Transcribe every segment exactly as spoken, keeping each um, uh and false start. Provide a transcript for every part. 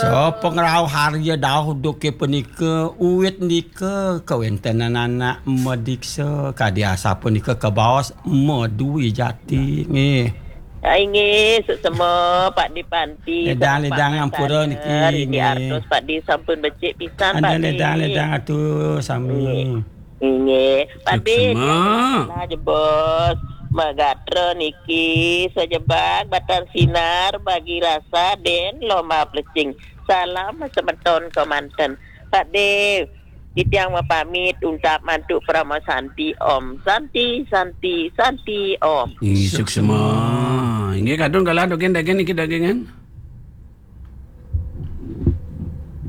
Sapangrauh harya dauh duké punika, uwit nika kawéntenan anak madiksa, kadi asapunika kabaos madwi jati, nggih. Ah, inggih, suksma, Pak Di Panti, ledang, salam ledang, Pak ampura niki, Master. Niki nggih. Artos, Pak Di, sampun becik pisan, Pak Di. Ledang, ledang, atur sami. Nggih. Inggih, Pak Di, suksma. Nah, jebos, magatra niki, sajebag, batan sinar, bagi rasa, den, lomba plecing. Salam semeton kemanten. Pak Di, titiang mapamit, untap mantuk Parama Santi, Om Santi, Santi, Santi, Om. Inggih, suksma. Inggih, kadung galah dogen dagen niki dagengan.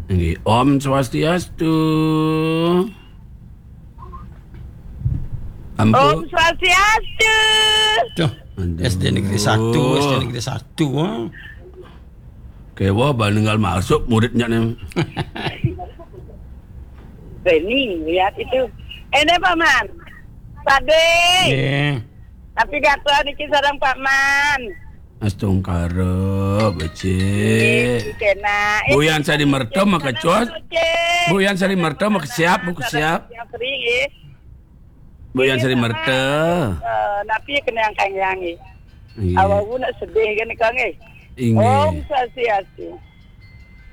Inggih, Om Swastiastu. Ampun. Om Swastiastu. Tuh, aduh. S D Negeri Satu, S D Negeri Satu, ha. Kéweh, bal ninggal masuk muridnya nih. Reni, lihat itu. Ini, Paman. Pak Dé. Nggih. Tapi gatra niki sareng Pak Man. Astungkara, becik. Nggih, kena. Bu Yan Sari Merta maka cos. Bu Yan Sari Merta maka siap, Bu, siap. Siap, Sri, nggih. Bu Yan Sari Merta. Eh, napi kena yang kangyang, nggih. Nggih. Awak nak sedih kan, Kang, nggih. Inggih. Om Swastiastu.